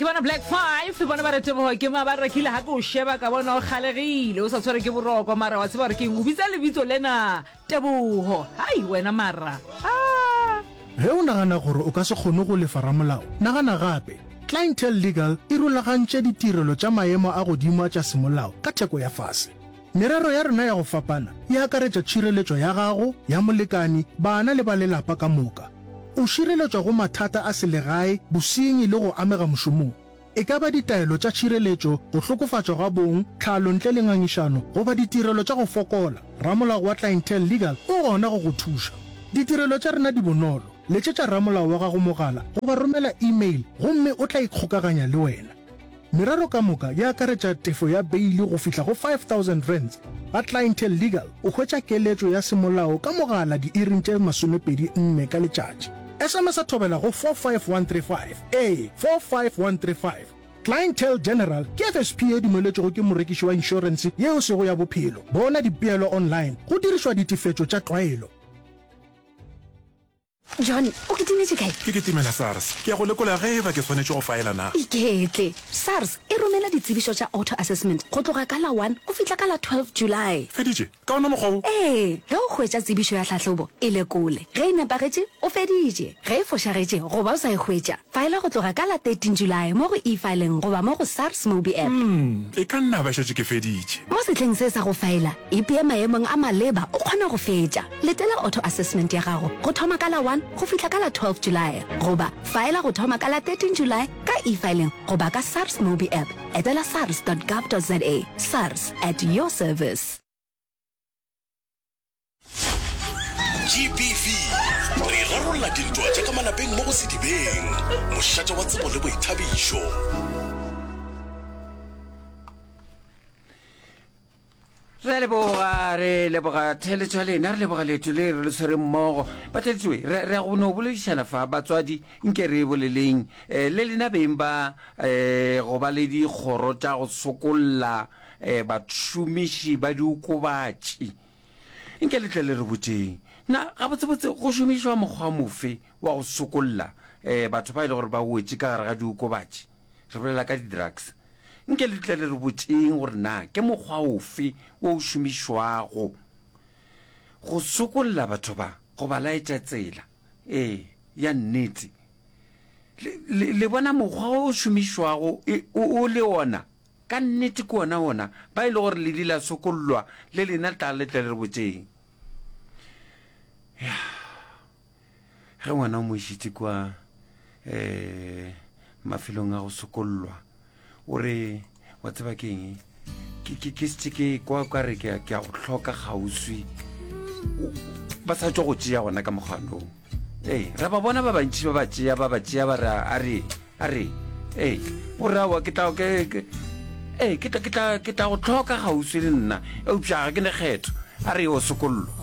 Ke bona Black 5, bona ba re tebogo ke ma ba rekile ga ke o sheba ka bona o kgalegile o sa tshware ke boroko mara wa tseba gore ke eng o bitsa lebitso lena Tebogo. Hai wena mara. Ah. Ge o nagana gore o ka se kgone go lefa ramolao, nagana gape. Clientele Legal e rulagantše ditirelo tša maemo a godimo a tša semolao ka theko ya fase. Merero ya rena ya go fapana e akaretša tšhireletšo ya gago, ya molekani, bana le ba lelapa ka moka. O šireletšwa go mathata a selegae, bosenyi le go amega mošomong. E ka ba ditaelo tša tšhireletšo, go hlokofatšwa ga bong, tlhalo ntle le ngangišano, goba ditirelo tša go fokola, ramolao wa Clientele Legal o gona go go thuša. Ditirelo tša rena di bonolo, letšetša ramolao wa gago mogala goba romela e-mail gomme o tla ikgokaganya le wena. Merero ka moka e akaretša tefo ya beili go fihla go R5000. Ga Clientele Legal o hwetša keletšo ya semolao ka mogala diiring tše 24 ka letšatši. SMS-a thobela go 45135, ee, 45135. Clientele General ke FSP ye dumeletšwego ke morekiši wa inšorense ye e sego ya bophelo. Bona dipeelo online go dirišwa ditefetšo tša tlwaelo. John, o kitimetše kae? Ke kitimela SARS. Ke ya go lekola ge e ba ke swanetše go faela na. Iketle. SARS e romela ditsebišo tša auto-assessment go tloga ka la one go fihla ka la 12 July. Feditše? Ka ona mokgwa wo? Ee. Ge o hwetša tsebišo ya tlhahlobo, e lekole. Ge e nepagetše, o feditše. Ge e fošagetše goba o sa e hwetša, faela go tloga ka la 13 July mo go eFiling goba mo go SARS MobiApp. Umm, e ka nna ba šetše ke feditše. Mo sehleng se sa go faela, ipee maemong a maleba o kgone go fetša. Letela auto-assessment ya gago go thoma ka la 1 go fihla ka la 12 Julae goba faela go thoma ka la 13 Julae ka eFiling goba ka SARS MobiApp. Etela sars.gov.za. SARS, at your service. GBV, Re rarolla dintwa tša ka malapeng mo go Sedibeng, mošate wa tsebo le boithabišo. Re a leboga, re leboga theeletšo ya lena, re leboga leeto le re le tshwereng mmogo. Batheeletši, re re ya go no boledišana fa, batswadi, nke re boleleng eh, le lena beng ba eh, go ba le dikgoro tša go sokolla eh, bašomiši ba diokobatši. Nke le tle le re botšeng, na gabotsebotse go šomišwa mokgwa mofe wa go sokolla eh, batho ba e le gore ba wetše ka gare ga diokobatši? Re bolela ka di-drugs. Nke le tle le re botšeng gore na ke mokgwa ofe wo o šomišwago go sokolla batho ba, go ba laetša tsela ee ya nnete. Le, le, le bona mokgwa o o šomišwago e, o, o le ona ka nnete ke ona ona ba e le gore le ile la sokollwa le lena tla le tle le re botšeng. Ya. Ge ngwana o mo išitše kua um mafelong a go sokollwa, o re, Wa tseba ke eng? Ke, ke, ke šetše ke kwa ka re ke a, ke a go hloka kgauswi. Ba sa tšwa go tšea gona ka mokgwanong. Ee, ra ba bona ba bantši ba ba tšea, ba ba tšea ba re, a re, a re, ee, o re aowa ke tla, ke, ke, ee, ke tla, ke tla, ke tla go hloka kgauswi le nna, eupša ga ke ne kgetho. A re yo sokollwa.